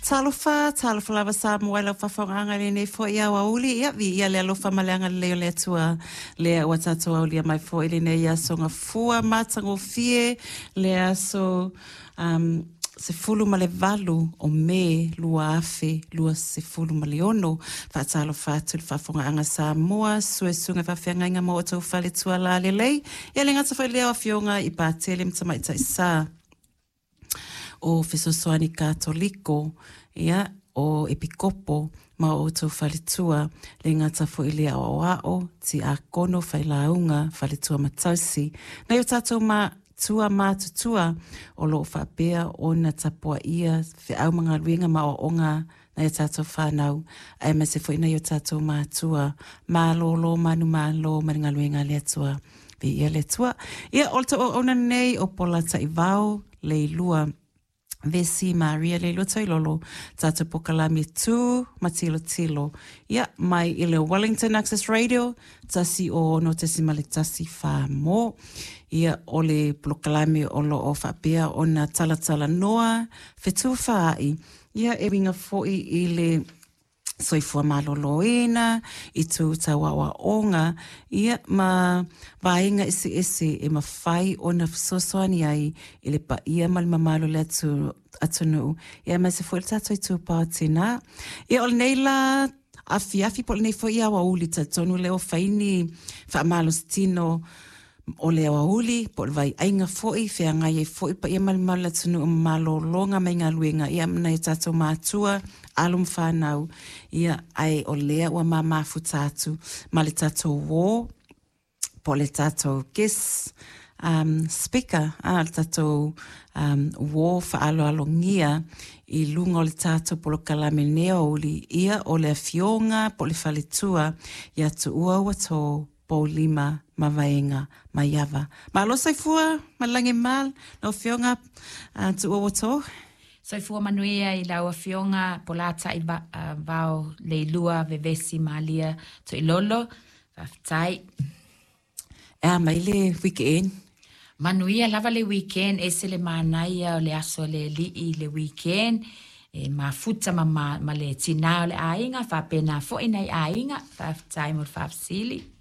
Talofa, talofa lava Samoa i lau faafogaaga i lenei foi aoauli. Ia, viia le alofa ma le agalelei o le Atua lea ua tatou aulia mai foi i lenei aso gafua matagofie, le aso um, 18 o Me 2026. Faatalofa atu i le faafogaaga Samoa, suesuega faafeagaiga ma outou faletua lalelei. Ia le gata foi lea o afioga i Patele ma Tamaitai Sa o Fesoasoani Katoliko, ia, o Epikopo ma o outou faletua, le gata foi lea o aoao, tiakono, failauga, faletua ma tausi. Nai o tatou matua matutua o lo o faapea ona tapuaia feau ma galuega ma aoaoga nai a tatou fanau, aemaise foi nai o tatou matua malōlō manumalo ma le galuega a le Atua. Viia le Atua. Ia, o le tou auauna lenei o Pola Taivao, Leilua Vesi Maria Leilua Toilolo, tatou pokalame tū ma tilotilo. Ia, mai i le Wellington Access Radio, 106.1 mo. Ia, o le polokalame o lo o faapea ona talatalanoa, fetufaai, ia e uiga foi i le soifua maloloina, i tū tau aoaoga, ia ma vaega eseese e mafai ona fesoasoani ai i le paia ma le mamalu o le atunuu, ia aemaise foi le tatou itupa o tinā. Ia o lenei la afiafi po o lenei foi aoauli, talitonu lea ua fai ni faamalositino o le aoauli po o le vaiaiga foi, feagai ai foi paia ma le mamalu o le atunuu ma malologa mai galuega, ia ma nai o tatou matua, alo ma fanau, ia, ae o lea ua ma mafuta atu ma le tatou uō, po o le tatou guest um, speaker, a, le tatou um, uō faaaloalogia i luga o le tatou polokalame i lenei aoauli, ia, o le afioga po o le faletua ia Tuua Uatō Poulima ma Vaega Maiava. Malo soifua ma le lagi e mama lau Afioga Tuua Uatō. Soifua manuia i lau Afioga Polatai Vao Leilua Vevesi Malia Toilolo. Faafetai. E a mai le weekend? Manuia lava le weekend, ese le manaia o le aso a le alii i le weekend, e mafuta ma, ma, ma le tinā o le aiga, faapena foi nai aiga. Faafetai mo le faafesili.